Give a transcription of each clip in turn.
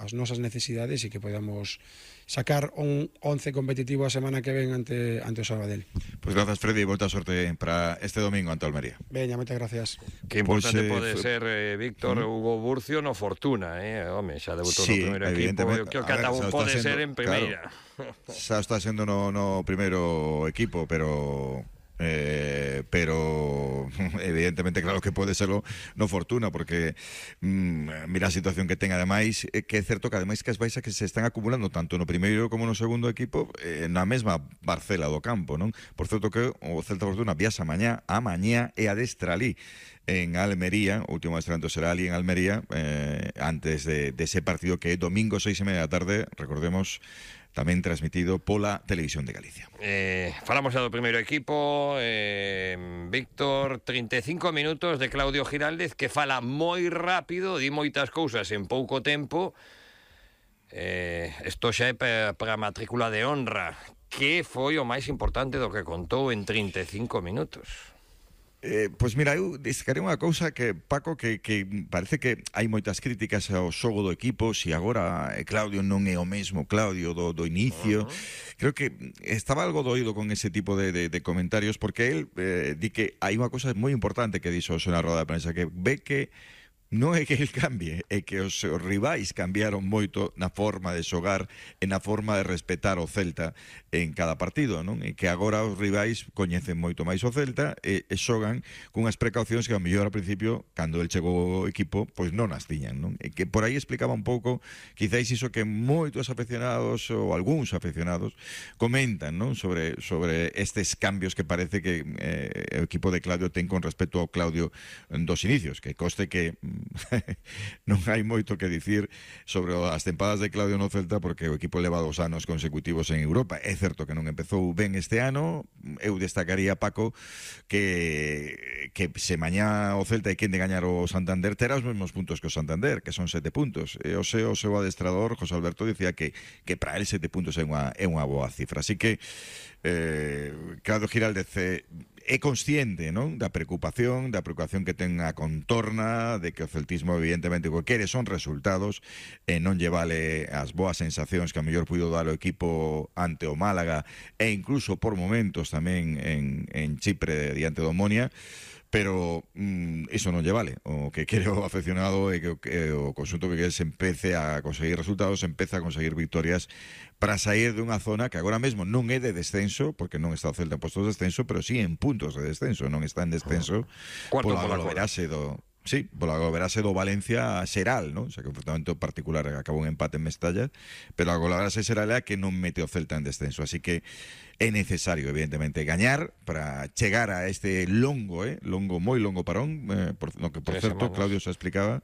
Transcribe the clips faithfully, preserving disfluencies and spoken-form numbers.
as nosas necesidades e que podamos sacar un once competitivo a semana que ven ante, ante o Sabadell. Pois pues grazas, Freddy, e volta a sorte para este domingo ante o Almería. Veña, moitas gracias. Que importante Pois, eh, pode f- ser, eh, Víctor, Mm. Hugo Burcio no Fortuna, eh? Home, xa debutou Sí, no primeiro equipo, evidentemente. que o que A ver, ata xa un está pode sendo- ser en primeira. Xa está sendo no, no primeiro equipo, pero eh, pero evidentemente claro que pode serlo no Fortuna, porque mm, mira a situación que ten ademais, eh, que é certo que ademais que as baixas que se están acumulando tanto no primeiro como no segundo equipo eh, na mesma parcela do campo, non? Por certo que o Celta Fortuna viaxa mañá a mañá e adestra ali en Almería, o último adestramento será ali en Almería, eh, antes de, de ese partido que é domingo seis e media da tarde, recordemos, tamén transmitido pola Televisión de Galicia. Eh, falamos xa do primeiro equipo, eh, Víctor, trinta e cinco minutos de Claudio Giraldez, que fala moi rápido, di moitas cousas en pouco tempo. Eh, isto xa é para a matrícula de honra. Que foi o máis importante do que contou en trinta e cinco minutos? Eh, pois mira, eu destacarei unha cousa que, Paco, que, que parece que hai moitas críticas ao xogo do equipo, se agora eh, Claudio non é o mesmo Claudio do, do inicio. Uh-huh. Creo que estaba algo doído con ese tipo de, de, de comentarios, porque el eh, di que hai unha cousa moi importante que dixo na roda de prensa, que ve que non é que el cambie, é que os, os rivais cambiaron moito na forma de xogar e na forma de respetar o Celta en cada partido, non? E que agora os rivais coñecen moito máis o Celta e, e xogan cunhas precaucións que ao mellor ao principio, cando el chegou ao equipo, pois non as tiñan, non? E que por aí explicaba un pouco, quizáis iso que moitos afeccionados ou algúns afeccionados comentan, non? Sobre, sobre estes cambios que parece que eh, o equipo de Claudio ten con respecto ao Claudio dos inicios, que coste que non hai moito que dicir sobre as tempadas de Claudio no Celta, porque o equipo leva dos anos consecutivos en Europa. É certo que non empezou ben este ano. Eu destacaría, Paco, que que se mañá o Celta hai quen de gañar o Santander, terá os mesmos puntos que o Santander, que son sete puntos. E o seu, o seu adestrador, José Alberto, dicía que, que para él sete puntos é unha, é unha boa cifra. Así que eh, Claudio Giraldez eh, é consciente, non, da preocupación, da preocupación que ten a contorna, de que o celtismo evidentemente o que quere son resultados e non lle vale as boas sensacións que a mellor puido dar o equipo ante o Málaga e incluso por momentos tamén en, en Chipre diante do Omonia. Pero mm, iso non lle vale. O que quere o afeccionado é que, que o conxunto que quere se empece a conseguir resultados, se empece a conseguir victorias para sair de unha zona que agora mesmo non é de descenso, porque non está o Celta en postos de descenso, pero sí en puntos de descenso, non está en descenso Cuarto pola pola goloverase do... Sí, pola goloverase do Valencia Xeral, non? O sea, que un enfrentamento particular acabou un empate en Mestalla, pero a goloverase Xeral é a que non mete o Celta en descenso, así que é necesario, evidentemente, gañar para chegar a este longo, eh, longo, moi longo parón, eh, por, no que, por Tres certo, semanas. Claudio xa explicaba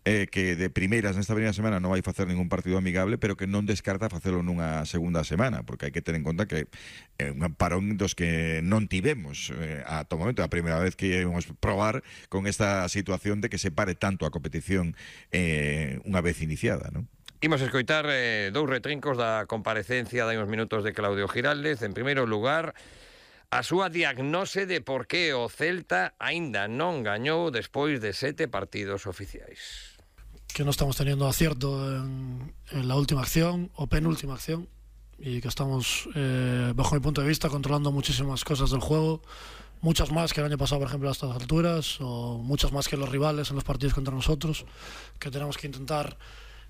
eh, que de primeiras nesta primeira semana non vai facer ningún partido amigable, pero que non descarta facelo nunha segunda semana, porque hai que ter en conta que é un parón dos que non tivemos eh, ata o momento, a primeira vez que íbamos probar con esta situación de que se pare tanto a competición eh, unha vez iniciada, non? Imos escoitar eh, dous retrincos da comparecencia de uns minutos de Claudio Giraldez. En primeiro lugar, a súa diagnose de por que o Celta aínda non gañou despois de sete partidos oficiais. Que no estamos teniendo acierto en, en la última acción o penúltima acción y que estamos, eh, bajo mi punto de vista, controlando muchísimas cosas del juego, muchas más que el año pasado, por ejemplo, a estas alturas, o muchas más que los rivales en los partidos contra nosotros, que tenemos que intentar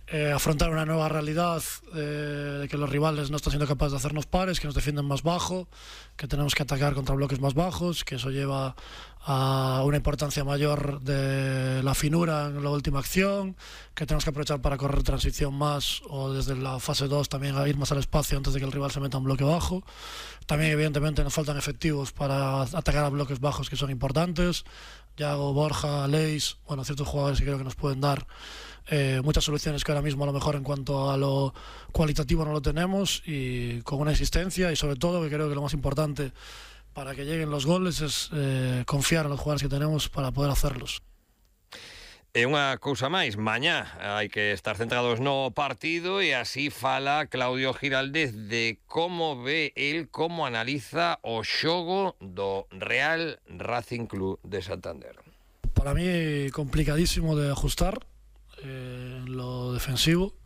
Eh, afrontar una nueva realidad eh, de que los rivales no están siendo capaces de hacernos pares, que nos defienden más bajo, que tenemos que atacar contra bloques más bajos, que eso lleva a una importancia mayor de la finura en la última acción, que tenemos que aprovechar para correr transición más o desde la fase dos también a ir más al espacio antes de que el rival se meta en bloque bajo. También evidentemente nos faltan efectivos para atacar a bloques bajos que son importantes. Yago, Borja, Leis, bueno, ciertos jugadores que creo que nos pueden dar eh, muchas soluciones que ahora mismo a lo mejor en cuanto a lo cualitativo no lo tenemos, y con una existencia, y sobre todo que creo que lo más importante para que lleguen los goles es eh, confiar en los jugadores que tenemos para poder hacerlos. E unha cousa máis, mañá hai que estar centrados no partido, e así fala Claudio Giraldez de como ve el, como analiza o xogo do Real Racing Club de Santander. Para mí complicadísimo de ajustar eh, en lo defensivo.